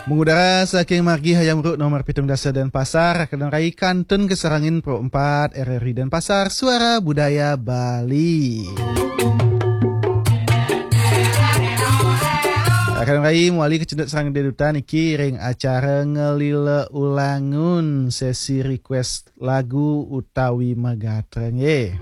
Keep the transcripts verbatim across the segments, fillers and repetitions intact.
Mengudara saking margi Hayam Wuruk nomor pitung dasa Denpasar, Raka dan Rai kantun kasarengin Pro empat R R I Denpasar, Suara Budaya Bali. Raka dan Rai mawali kacunduk sareng Dé Duta niki ring acara Ngelila Ulangun, sesi request lagu utawi magatra nggih.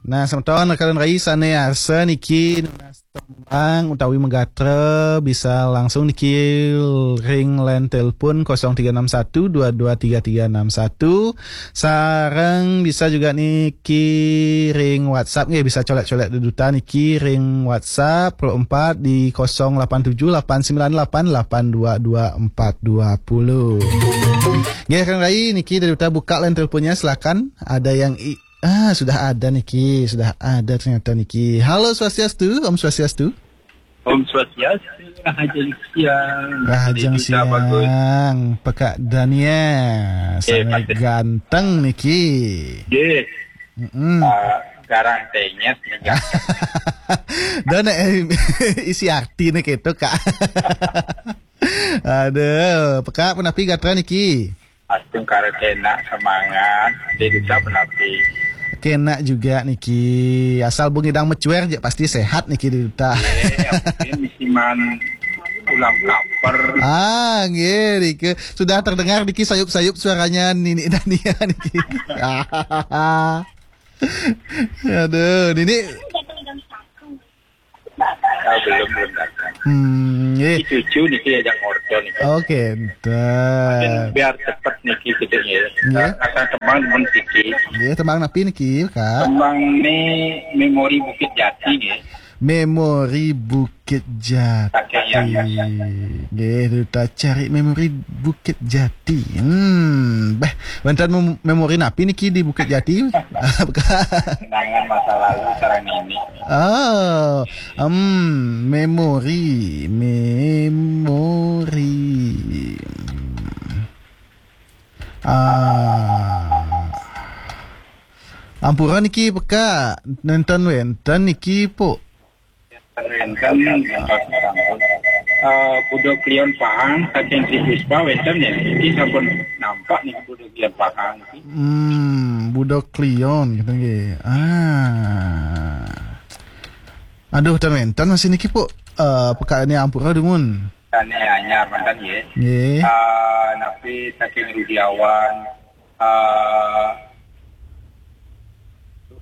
Nah, semeton Raka dan Rai sané arsa niki nunas tembang utawi magatra bisa langsung niki ring line telepon kosong tiga enam satu dua dua tiga tiga enam satu. Sareng bisa juga niki ring WhatsApp nggih, bisa colek-colek Dé Duta niki ring WhatsApp Pro empat di kosong lapan tujuh lapan sembilan lapan lapan dua dua empat dua puluh. Nggih, Kang Rai, niki Dé Duta buka line teleponnya, silakan. Ada yang i- ah, sudah ada niki, sudah ada ternyata niki. Halo Swastiastu, Om Swastiastu. Om Swastiastu, Rahajeng Siang. Rahajeng Siang, Pak Dania. Eh, sangat ganteng niki. Nggih. Mm-mm. Ah, garang tenyet niki. Dan eh, isi arti nih gitu, Kak. Aduh, Pekak punapi gatra niki? Astungkara kenak semangat, Dé Duta punapi? Kenak juga niki. Asal bung idang mecuer aja pasti sehat niki Dé Duta. Iya, mungkin musiman ulam kaper. Ah, nggih, niki. Sudah terdengar niki sayup-sayup suaranya Nini Dania niki. Aduh, Nini. Ah, belum, belum datang. Hmm, nggih. Cucu niki ajak ngorto niki. Oke, enten. Biar cepet niki kita ya. Nggih. Akan tembang temen niki. Nggih, tembang napi niki, Kak? Tembang ni Memori Bukit Jati nggih. Memori Bukit Jati. Oke, ya, ya, ya. Nggih, Duta cari Memori Bukit Jati. Hmm, bah, wénten mem- memori napi niki di Bukit Jati? Kenangan masa lalu sareng nini. Oh, hmm, memori, memori. Ah. Ampura niki Pekak, nénten wénten niki, Puk. Wénten, eh, Budo Kliwon Pahang, saking Tri Puspa wénten ya. Niki sampun nampak niki Budo Kliwon Pahang niki. Hmm, Budo Kliwon gitu nggih. Ah. Aduh, ten wénten masih niki, Puk. Eh, Pekak ini ampura dumun. Sané anyar manten nggih. Nggih. Eh, napi saking Rudiawan, eh,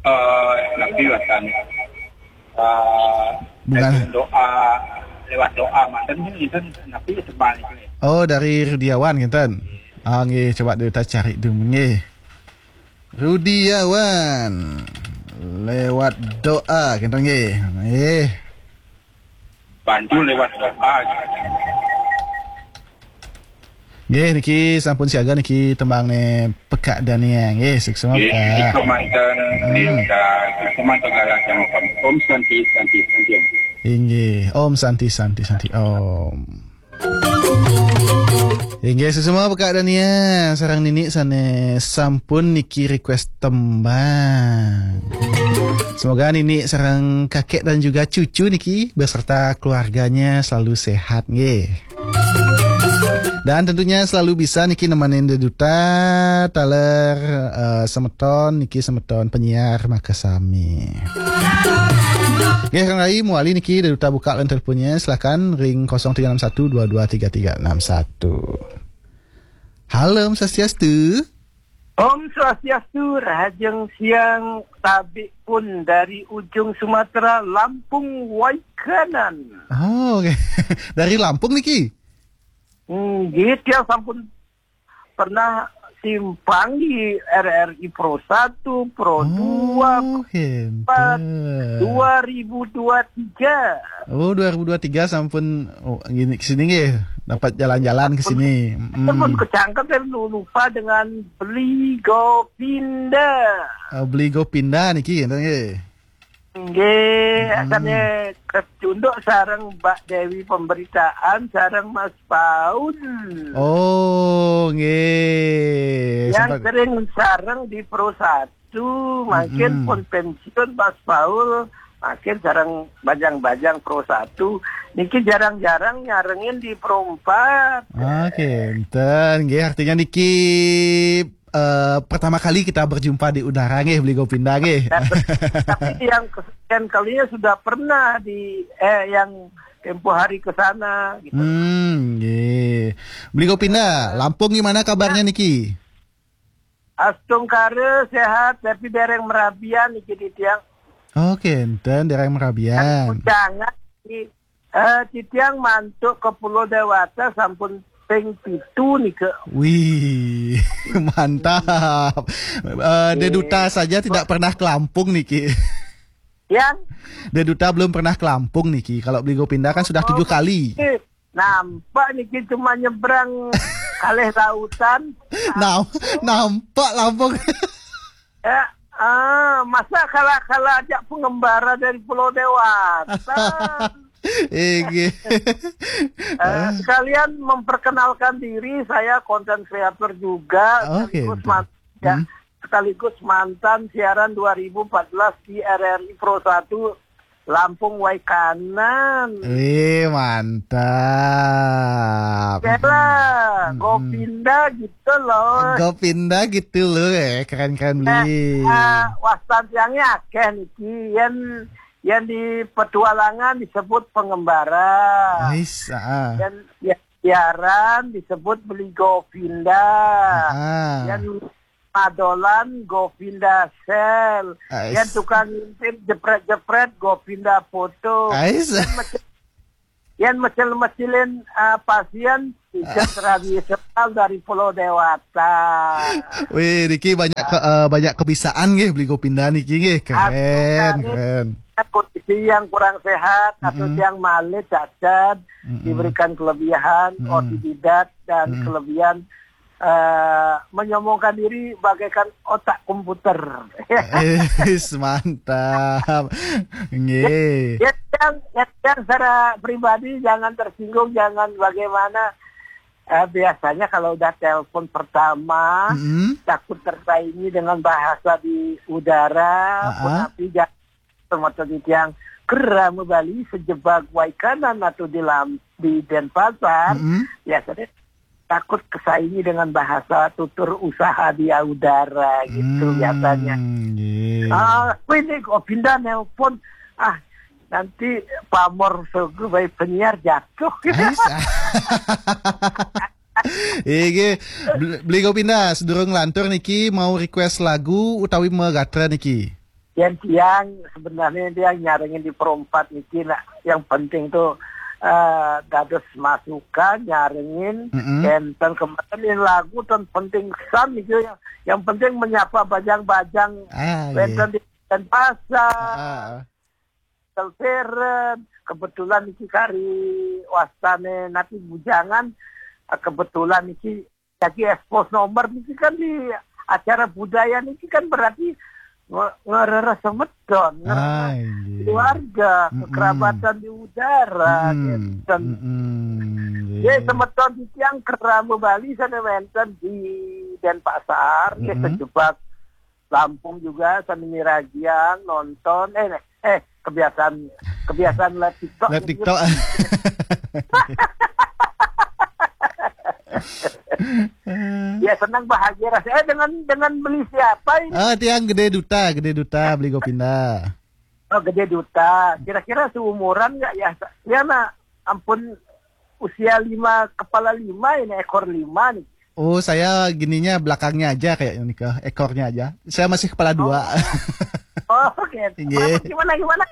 eh, napi wénten, eh, Bukan. Doa, lewat doa manten nggih, napi tembang niki. Oh, dari Rudiawan ngénten. Ah, nggih, coba kita cari dulu nggih. Rudiawan lewat doa ngénten nggih. Nggih. Bantu lewat doa. Nggih, niki sampun siaga niki tembang né Pekak Dania. Nggih, suksma, Pekak. Nggih, suksma manten, hmm. Nggih, suksma manten galah jamaah. Om Santi, Santi, Santi, Om. Inggih, Om Santi, Santi, Santi, Om. Inggih, suksma Pekak Dania sareng Nini sané sampun niki request tembang. Semoga Nini sareng kakek dan juga cucu niki beserta keluarganya selalu sehat nggih. Dan tentunya selalu bisa niki nemenin Dé Duta taler, eh, semeton niki semeton penyiar makasami. Nggih, Kang Rai, mawali niki Dé Duta buka line teleponnya, silakan ring kosong tiga enam satu dua dua tiga tiga enam satu. Halo, Om Swastiastu. Om Swastiastu, Rahajeng Siang, Tabi pun dari ujung Sumatera, Lampung Waikanan. Oh, oke. Dari Lampung niki? Nggih, tiang sampun pernah simpang di R R I Pro satu, Pro dua, Pro empat, dua ribu dua tiga. Oh, dua ribu dua tiga sampun, oh, gini ke sini nggih, dapat jalan-jalan ke sini. Sampun kecangkem, saya lupa dengan Beli Gopinda. Oh, Beli Gopinda niki, enten nggih. Nggih, sané kecunduk sareng Mbak Dewi Pemberitaan sareng Mas Paul. Oh, nggih. Yang sering sareng di Pro satu. Satu, mangkin pun pensiun Mas Paul, mangkin sareng bajang-bajang Pro Satu. Niki jarang-jarang nyarengin di Pro Empat. Oke, enten nggih, artinya niki eh, pertama kali kita berjumpa di udara nggih, Beli Gopinda nggih. Tapi yang kesekian kalinya sudah pernah di, eh, yang tempo hari ke sana gitu. Hmm, nggih. Beli Gopinda, Lampung gimana kabarnya niki? Astungkara sehat, tapi dereng merabian niki titiang. Oke, enten dereng merabian. Jangan di, eh, titiang mantuk ke Pulau Dewata sampun ping pitu nika. Wih, mantap. Eh, Deduta saja tidak pernah ke Lampung niki. Yang Deduta belum pernah ke Lampung niki. Kalau Beli Gopinda kan sudah tujuh kali. Nampak niki cuma nyebrang kalih lautan. Nam, nampak Lampung. Ya, ah, masa kala-kala ajak pengembara dari Pulau Dewata. Inggih. Eh, sekalian memperkenalkan diri, saya konten kreator juga, oke, sekaligus man-, ya, sekaligus mantan siaran dua ribu empat belas di R R I Pro satu Lampung Waikanan. Wih, mantap. Bela, Gopinda gitu loh. Gopinda gitu loh, eh, keren-keren, Beli. Eh, wastan tiangnya akeh niki, yen, yen di petualangan disebut pengembara. Ais, ah. Yen, ya, siaran disebut Beli Gopinda. Ah. Yen madolan Gopinda Sel. Ais. Yen tukang ngintip jepret-jepret Gopinda Foto. Ais. Yen mecil-, yen mecil-mecilin, eh, pasien, pijet tradisional dari Pulau Dewata. Wih, niki banyak ke-, eh, banyak kebisaan nggih, Beli Gopinda niki nggih. Keren, keren. Kondisi yang kurang sehat atau yang malih cacat, diberikan kelebihan, otodidak dan kelebihan, eh, menyombongkan diri bagaikan otak komputer. Ais, mantap. Nggih. Ya, yang, ya, yang secara pribadi jangan tersinggung, jangan bagaimana. Eh, biasanya kalau udah telepon pertama, takut tersaingi dengan bahasa di udara, punapi ja-, semeton titiang kerama Bali sejebak Waikanan atau di Lam-, di Denpasar, biasanya takut kesaingi dengan bahasa tutur usaha di udara gitu biasanya. Nggih. Ah, kuwi nih kok pindah nelpon. Ah, nanti pamor sogo bae penyiar jatuh gitu. Ais. Iki, Bel-, Beli Gopinda, sedurung lantur niki mau request lagu utawi megatra niki? Yen tiang sebenarnya tiang nyarengin di Pro empat niki, nak, yang penting tuh, eh, dados masukan, nyarengin, enten kemarin lagu ten penting san niki, yang, yang penting menyapa bajang-bajang, ah, iya, wenten di Denpasar. Ah, ah. Kelveren, kebetulan niki kari wastane nanti bujangan, eh, kebetulan niki lagi ekspos nomor niki kan di acara budaya niki kan berarti nge-, ngereres semeton, ngereres, ah, iya, keluarga, kekerabatan di udara, gitu. Nggih. Semeton titiang kerama Bali sana wenten di Denpasar, nggih, sejebak Lampung juga, sami miragian, nonton, eh, eh, kebiasaan, kebiasaan live TikTok. Live TikTok. Ya, senang bahagia rasanya. Eh, dengan, dengan Beli siapa ini? Ah, tiang Gede Duta, Gede Duta, Beli Gopinda. Oh, Gede Duta. Kira-kira seumuran nggak ya? Ya, nah, ampun, usia lima, kepala lima ini, ekor lima nih. Oh, saya gininya belakangnya aja kayaknya nih, ke ekornya aja. Saya masih kepala dua. Oh. Oh, oke. Nggih. Gimana, gimana, gimana?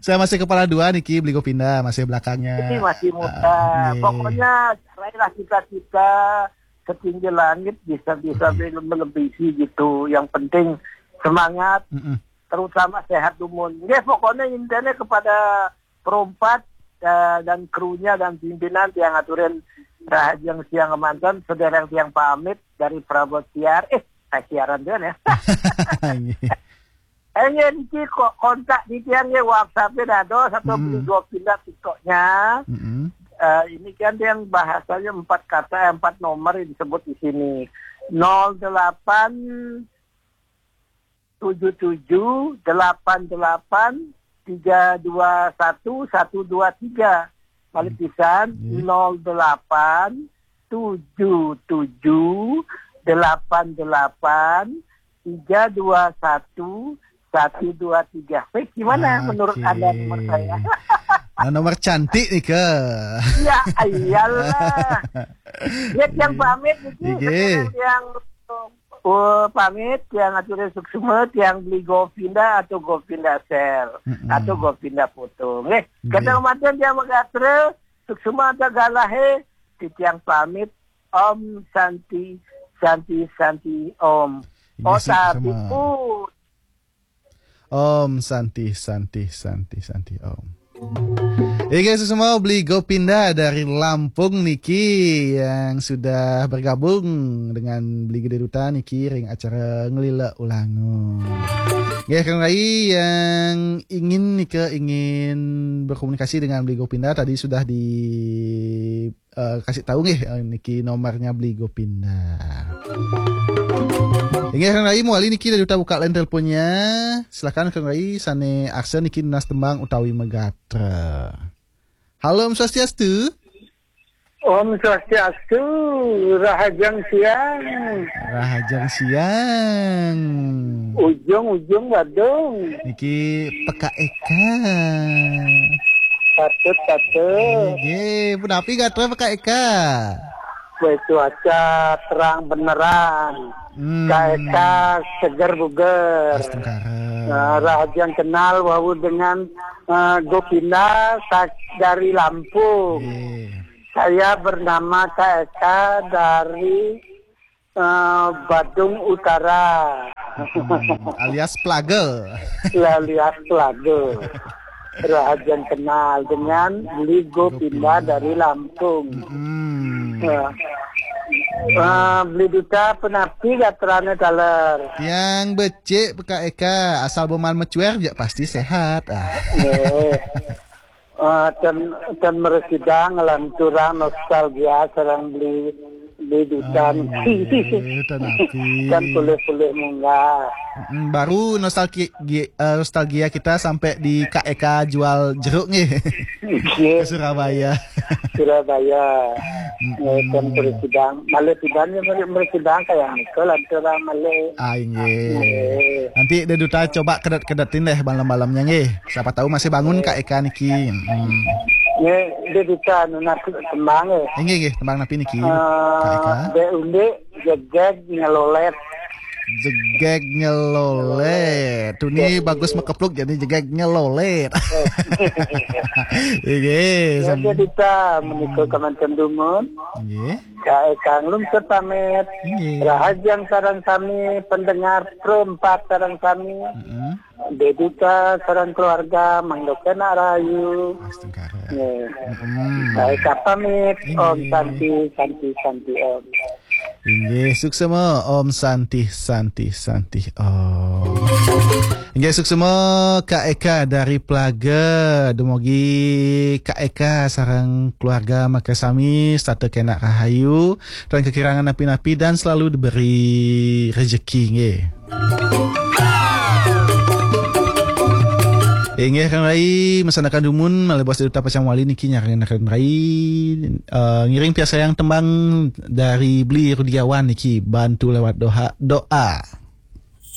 Saya masih kepala dua niki, Beli Gopinda, masih belakangnya. Ini masih muda. Ah, nggih. Pokoknya raihlah cita-cita setinggi langit, bisa-bisa melebihi gitu. Yang penting semangat, terutama sehat dumun. Nggih, pokoknya intinya kepada Pro empat, eh, dan krunya dan pimpinan yang ngaturin Rahajeng Siang Kemanten, sedereng tiang pamit dari Prabot Siar. Eh, saya siaran dulu ya. Nggih. Eh, nggih, niki kok kontak di tiang nggih, WhatsApp-e dados atau Beli Gopinda TikTok-nya. Eh, ini kan yang bahasanya empat kata, empat nomor yang disebut di sini. Nol delapan tujuh tujuh delapan delapan tiga dua satu satu dua tiga. Balik pisan, nol delapan tujuh tujuh delapan delapan tiga dua satu satu dua tiga. Weh, gimana menurut Anda nomor saya? Nah, nomor cantik nih ke. Ya, iyalah. Ya, yang pamit itu yang, oh, pamit yang atur suksma, yang beli Govinda atau Govinda Sel atau Govinda Foto. Nggih, kadang mantun yang magatra suksma atau galahe, titiang pamit. Om Santi, Santi, Santi, Om. Oh, tapi pun Om Santi, Santi, Santi, Santi, Om. Oke, semua beli Gopinda dari Lampung niki yang sudah bergabung dengan beli Gede Duta niki ring acara Ngelila Ulangun. Nggih, kang Rai yang ingin nika ingin berkomunikasi dengan beli Gopinda tadi sudah di eh, kasih tahu nggih eh, niki nomornya beli Gopinda. Inggih, kang Rai, muali niki dari uta buka line teleponnya. Silakan, kang Rai, sane aksen niki nunas tembang utawi megatra. Halo, Om Swastiastu. Om Swastiastu, Rahajeng Siang. Rahajeng Siang. Ujung-ujung Badung. Niki Peka Eka. Patut, patut. Nggih, punapi gatra Peka Eka? Weh, cuaca terang benerang. Hmm. Kak Eka seger buger. Astungkara. Nah, Rahajeng kenal wau dengan uh, Gopinda dari Lampung. Yeah. Saya bernama Kak Eka dari uh, Badung Utara. Hmm, alias Plaga. Alias Plaga. Rahajeng kenal dengan Beli Gopinda dari Lampung. Hmm. Ya. Uh, Beli Duta, punapi gatrane taler? Tiang becik, Peka Eka, asal boman mecuer ya pasti sehat. Ah. Yeah. Uh, dan dan meresidang ngelanturang nostalgia sareng Beli Beli Duta. Kan pulih-pulih munggah. Baru nostalgia, eh, nostalgia kita sampai di Kak Eka jual jeruk nih. Ke Surabaya. Surabaya. Kan meresidang, malih tiban ya meresidang kayak niku lanturang malih. Ah, inggih. Nanti Beli Duta coba kedet-kedetin deh malam-malamnya nggih. Siapa tahu masih bangun Kak Eka niki. Hmm. Nggih, Beli Duta nunas tembang nggih. Inggih, nggih, tembang napi niki? Kak Eka. Dek Undi, Jegeg Ngelolet. Jegeg Ngelolet. Tuni bagus mekepluk jadi Jegeg Ngelolet. Inggih. Ya, Beli Duta menika kemanten dumun. Inggih. Kak Eka nglungsur pamit. Inggih. Rahajeng sareng sami pendengar Pro empat sareng sami. Heeh. Beli Duta sareng keluarga mangda kenak rahayu. Astungkara. Nggih. Kak Eka pamit. Inggih. Om Santi, Santi, Santi Om. Inggih, suksema Om Santi, Santi, Santi Om. Inggih, suksema Kak Eka dari Plaga. Dumogi Kak Eka sareng keluarga makasami setata kenak rahayu dan kekirangan napi-napi dan selalu diberi rezeki nggih. Inggih, kang Rai, mesanakan dumun malih Bos Duta pacang wali niki nyarengin kang Rai, eh, ngiring piarsayang tembang dari Beli Rudiawan niki, Bantu Lewat Doa.